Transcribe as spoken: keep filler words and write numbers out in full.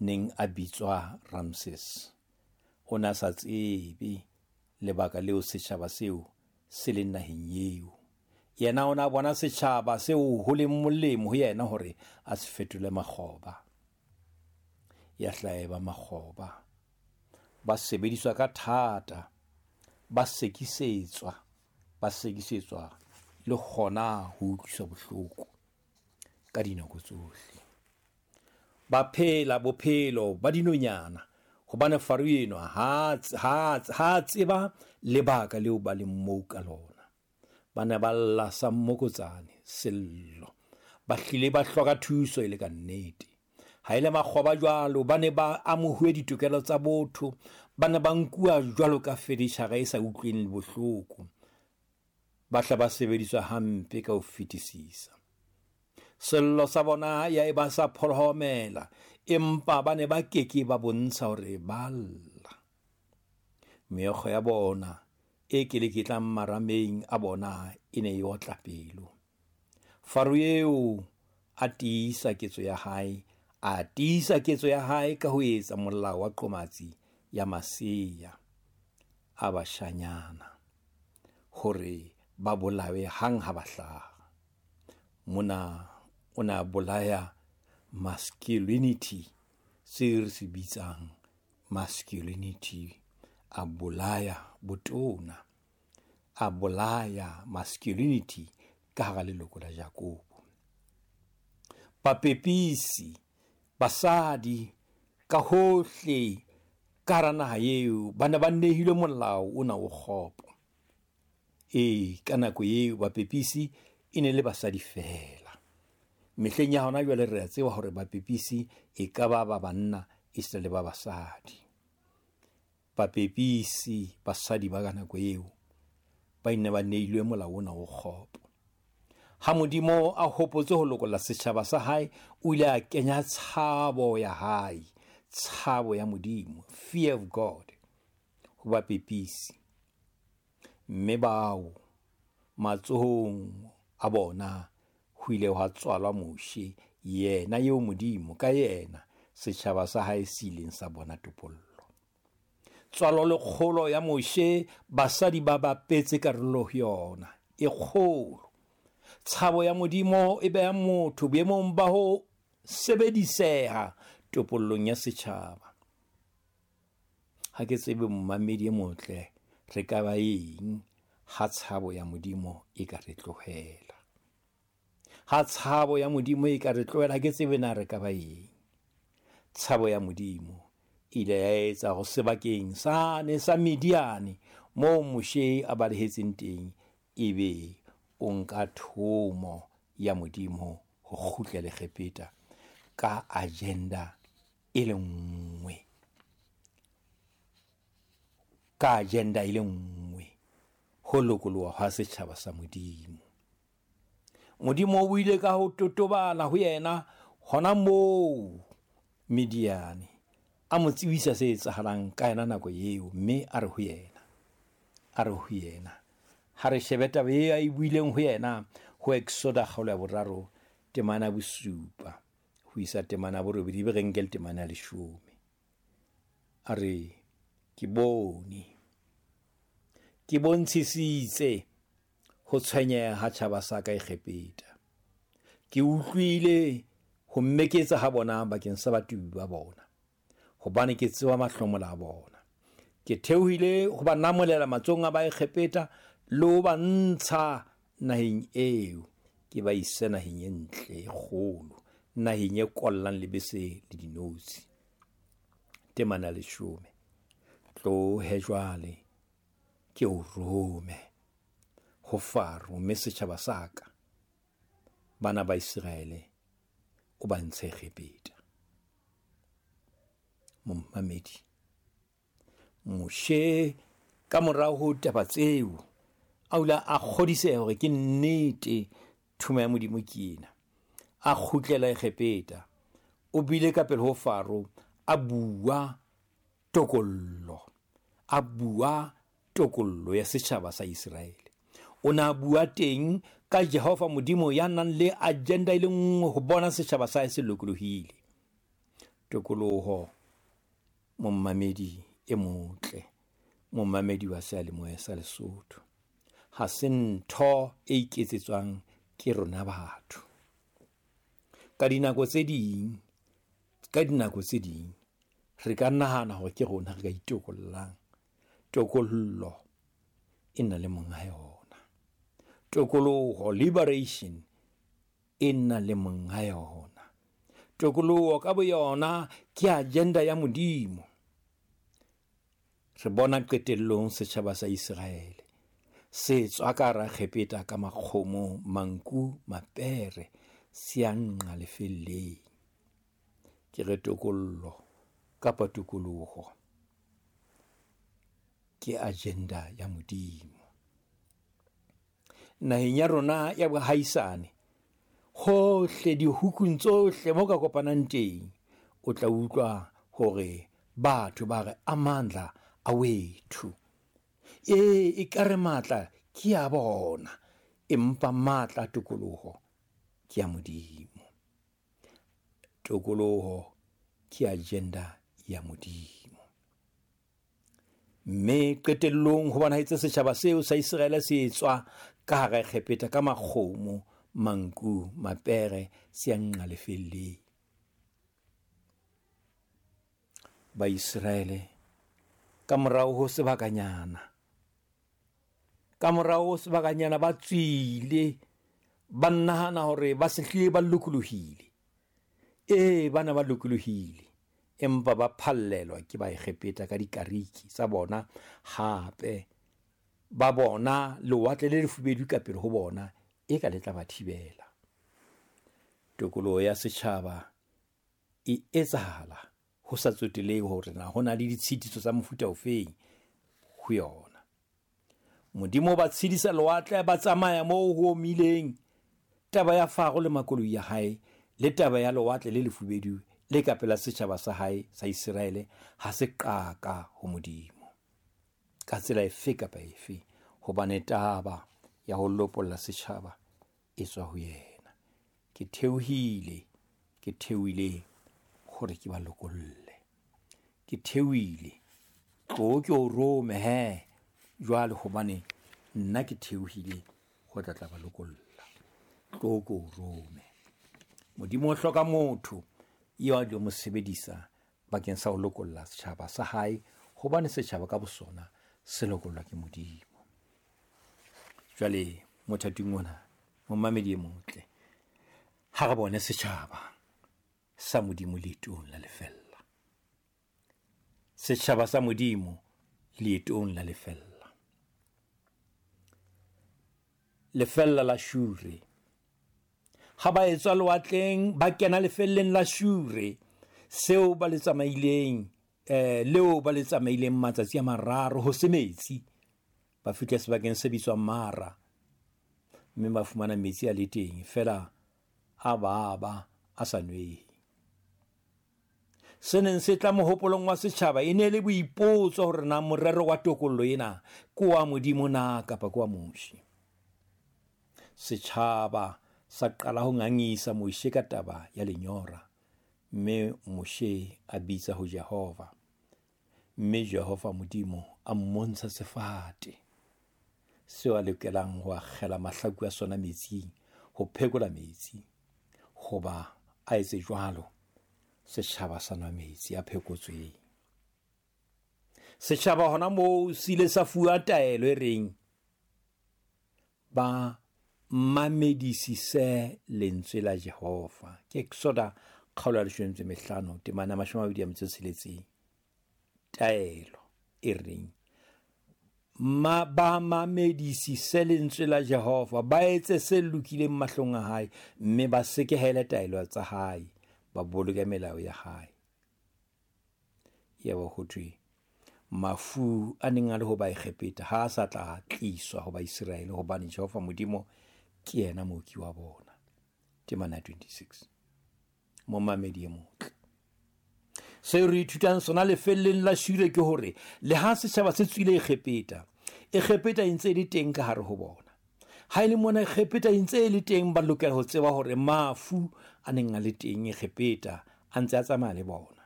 neng a bitswa Ramses o na sa tsebe lebaka leo setjhaba seo se leng naheng eo. Yena o na bona setjhaba seo ho leng molemo ho yena hore a se fetole makgoba. Ya hlaeba makgoba, ba sebediswa ka thata, ba sekisetswa, ba sekisetswa le hona ho utlwiswa bohloko ka dinako tsohle. Ba phela bophelo ba dinonyana hobane Faro enwa ha ha ha tseba lebaka leo ba leng moo ka lona. Ba ne ba lla sa mmokotsane sello, ba hlile ba hloka thuso e le ka nnete. Ha ile makgoba jwalo, ba ne ba amohuwe ditokelo tsa botho, ba ne ba nkuwa jwalo ka fenitjhara e sa utlweng bohloko. Ba hla ba sebediswa hampe ka ho fetisisa. Sello sa bona ya eba sa pholohomela, empa ba ne ba keke ba bontsha hore ba lla. Meokgo ya bona e keleketlang marameng a bona e ne e otla pelo. Faro eo a tiisa ketso ya hae, a tiisa ketso ya hae ka ho etsa molao wa qomatsi ya masea a bashanyana hore ba bolawe hang ha ba hlaha. Mona o na bolaya masculinity, se re se bitsang masculinity, a bolaya botona, a bolaya masculinity ka hara leloko la Jakobo. Bapepisi, basadi ka hohle ka hara naha eo ba ne ba nehilwe molao ona o kgopo. E ka nako eo bapepisi e ne le basadi fela. Mehleng ya hona jwale re a tseba hore bapepisi e ka ba ba banna e se le ba basadi. Bapepisi basadi ba ka nako eo ba ne ba neilwe molao ona o kgopo. Ha Modimo a hopotse ho lokolla setjhaba sa hae, o ile a kenya tshabo ya hae, tshabo ya Modimo, fear of God, ho bapepisi. Mme bao matsohong a bona ho ile hwa tswalwa Moshe, yena eo Modimo ka yena setjhaba sa hae se ileng sa bona topollo. Tswalo le kgolo ya Moshe, basadi ba bapetse karolo ho yona e kgolo. Tshabo ya Modimo e beha motho boemong ba ho sebediseha topollong ya setjhaba. Ha ke tsebe momamedi e motle re ka ba eng ha tshabo ya Modimo e ka re tlohela. Ha tshabo ya Modimo e ka re tlohela, ha ke tsebe na re ka ba eng. Tshabo ya Modimo e ile ya etsa ho sebakeng sane sa Midiane moo Moshe a balehetseng teng, ebe o nka thomo ya Modimo ho kgutlela Egepeta ka agenda e le nngwe. Ka agenda e le nngwe, ho lokoloha ha setjhaba sa Modimo. Modimo o ile ka ho totobala ho yena hona moo Midiane, a mo tsebisa se etsahalang ka yena nako eo, mme a re ho yena, a re ho yena, ha re shebe taba e a e buileng ho yena ho Exoda kgaolo ya boraro temana ya bosupa ho isa temana ya borobedi, be re nke le temana ya leshome. A re, ke bone, ke bontshisitse ho tshwenyeha ha tjhaba sa ka Egepeta. Ke utlwile ho mmeketsa ha bona bakeng sa batubi ba bona, hobane ke tseba mahlomola a bona. Ke theohile ho ba namolela matsohong a Baegepeta le ho ba ntsha naheng eo, ke ba ise naheng e ntle e kgolo, naheng e kollang lebese le dinotshi. Temana leshome. Tlohe jwale ke o rome ho Faro, mme setjhaba sa ka, bana ba Iseraele, o ba ntshe Egepeta. Momamedi, Moshe ka morao ho taba tseo a ula a kgodiseha hore ke nnete thumo ya Modimo ke ena. A kgutlela Egepeta, o bile ka pele ho Faro, a bua tokollo, a bua tokollo ya setjhaba sa Iseraele. O na bua teng ka Jehova Modimo ya nang le agenda e le nngwe ho bona setjhaba sa hae se lokolohile. Tokoloho momamedi e motle, momamedi wa seyalemoya sa Lesotho, ha se ntho e iketsetswang ke rona batho. Ka dinako tse ding, ka dinako tse ding re ka nahana hore ke rona re ka itokollang. Tokollo e na le monga yona. Tokoloho, liberation, e na le monga yona. Tokoloho ka boyona ke agenda ya Modimo. Re bona qetellong setjhaba sa Iseraele se tswa ka hara Egepeta ka makgomo, manku, mapere, se ya nqa lefelleng. Ke re tokollo kapa tokoloho ke agenda ya Modimo. Naheng ya rona ya bohaisane, hohle dihukung tsohle mo ka kopanang teng, o tla utlwa hore batho ba re amandla a wethu. E ekare matla ke a bona, empa matla a tokoloho ke a Modimo. Tokoloho ke agenda ya Modimo. Mme qetellong ho bonahetse setjhaba seo sa Iseraele se tswa ka hara Egepeta ka makgomo, manku, mapere, se ya nqa lefelleng. Baiseraele ka morao ho sebakanyana, ka morao ho sebakanyana ba tswile, ba nahana hore ba se hlile ba lokolohile. E, bana ba lokolohile, empa ba phallelwa ke Baegepeta ka dikariki tsa bona. Hape ba bona lewatle le lefubedu ka pele ho bona, e ka le tla ba thibela. Tokoloho ya setjhaba e etsahala ho sa tsotelehe hore na ho na le ditshitiso tsa mofuta ofeng ho yona. Modimo ba tshedisa lewatle, ba tsamaya moo ho omileng. Taba ya Faro le makoloi ya hae le taba ya lewatle le lefubedu le ka pela setjhaba sa hae sa Iseraele ha se qaka ho Modimo ka tsela efe kapa efe, hobane taba ya ho lopolla setjhaba e tswa ho yena. Ke theohile, ke theohile hore ke ba lokolle. Ke theohile, tlo ke o rome he jwale, hobane nna ke theohile ho tla tla ba lokolla. Tlo ke o rome. Modimo o hloka motho eo a tlo mo sebedisa bakeng sa ho lokolla setjhaba sa hae, hobane setjhaba ka bosona se lokollwa ke Modimo. Jwale mothating ona, momamedi e motle, ha re bone setjhaba sa Modimo leetong la lefella. Setjhaba sa Modimo leetong la lefella. Lefella la Shure. Ha ba etswa lewatleng, ba kena lefelleng la Shure, seo ba le tsamaileng, eh, leo ba le tsamaileng matsatsi a mararo ho se metsi. Ba fihla sebakeng se bitswang Mara, mme ba fumana metsi a le teng, feela a baba a sa nwehe. Se neng se tla mohopolong wa setjhaba e ne le boipotso hore na morero wa tokollo ena ke wa Modimo na kapa ke wa Moshe. Setjhaba sa qala ho ngangisa Moshe ka taba ya lenyora, mme Moshe a bitsa ho Jehova, mme Jehova Modimo a mmontsha sefate seo a lokelang ho akgela mahlaku a sona metsing, ho phekola metsi. Hoba a etse jwalo, setjhaba sa nwa metsi a phekotsweng. Setjhaba hona moo se ile sa fuwa taelo e reng ba mamedisise lentswe la Jehova. Ke Exoda kgaolo ya leshome le mehlano temana mashome a mabedi a metso e tsheletseng. Taelo e reng ma ba mamedisise lentswe la Jehova, ba etse se lokileng mahlong a hae, mme ba sekehele taelo tsa hae, ba boloke melao ya hae. Yaba ho thwe mafu a neng a le ho Baegepeta ha a sa tla tliswa ho Baiseraele, hobane Jehova Modimo ke yena mooki wa bona. Temana twenty-six. Momamedi e motle, seo re ithutang sona lefelleng la Shure ke hore le ha setjhaba se tswile Egepeta, Egepeta e ntse e le teng ka hare ho bona. Ha e le mona Egepeta e ntse e le teng, ba lokela ho tseba hore mafu a neng a le teng Egepeta a ntse a tsamaya le bona.